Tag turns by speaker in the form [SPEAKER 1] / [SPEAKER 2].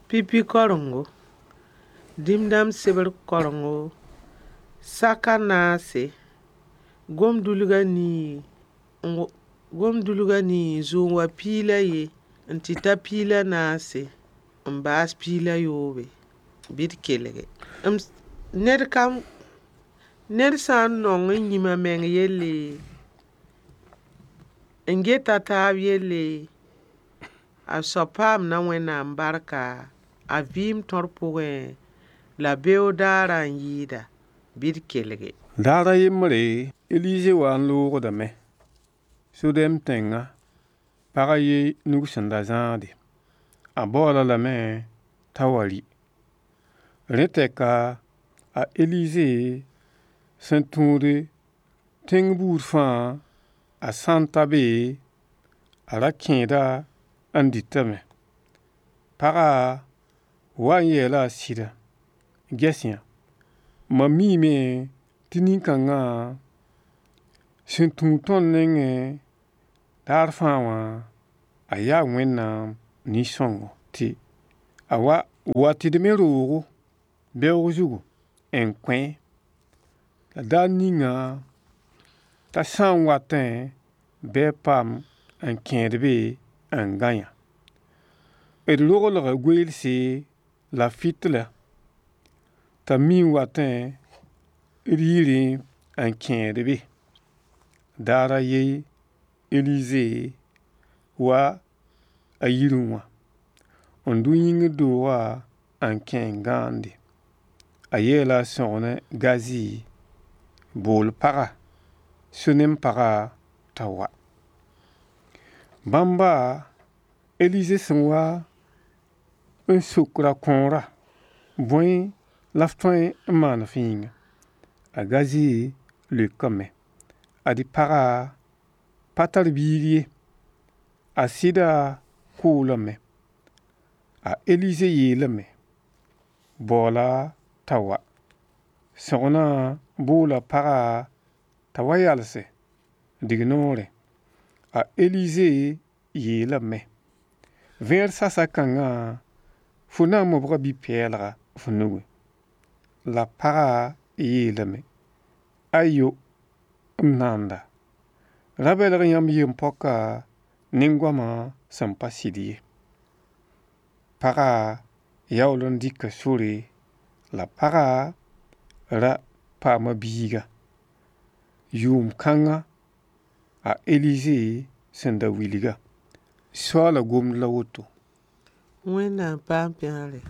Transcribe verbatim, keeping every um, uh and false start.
[SPEAKER 1] Pipi karengo, dĩm dãmb sebr karengo, sak a naase, gom-dulgã nii gom-dulgã nii n zoe n wa piig la ye n tɩ ta piig la naase n baas piig la yoobe. Bɩ d kelge. Ned kam ned sã n nong n yĩm a meng yelle, n get a taab yelle, a soab paamda Wẽnnaam barka a vɩɩm tõr pʋgẽ, la beoog daarã n yɩɩda. Bɩ d kelge.
[SPEAKER 2] Daar a yembre, Elize wa n loogdame Sodɛm tẽngã pag a ye nug sẽn da zãade. A baool-a lame t'a wa rɩ. Rẽ tɛka, a Elize sẽn tũud tẽng buud fãa, a sã n ta be, a ra kẽeda n dɩtame. Pagã wa n yeela a sɩda: Ges-yã, mam miime tɩ nin-kãngã sẽn tũud tõnd nengẽ daar fãa wã, a yaa Wẽnnaam nin-sõngo tɩ a wa wa tɩ d me roogo beoog zugu n kõ-a. La daar ninga t'a sã n watẽ bɩ a paam n kẽed be n gãe-yã. D roglga goeelse la fɩtla t'a mi n watẽ d yirẽ n kẽed be. Daar a ye Elize wa a yirẽ wã n dʋ yĩngr doogã n kẽ n gãande. A yeela a sõgen Gazi: Bool paga, Sunem pagã t'a wa. Bãmba Elize sẽn wa n sok ra-kõorã: Bõe la f tõe n maan f yĩnga? A Gazi leokame: Ad-y pagã pa tar biig ye, a sɩda koolame. A Elize yeelame: Baoola t'a wa. Sõgenã boola pagã t'a wa yalse dignoorẽ. A Elize yeelame: Vẽer sasa-kãngã fo na n mobga bi-pɛɛlga f nugẽ. La pagã yeelame: Ayo, m nanda, ra belg yãmb yem-poaka ne goamã sẽn pa sɩd ye. Pagã yaool n dɩka sore la pagã ra paama biiga. Yʋʋm kãnga a Elize sẽn da wilga. Soaala gomd la woto.
[SPEAKER 1] Wẽnnaam paam pẽgre.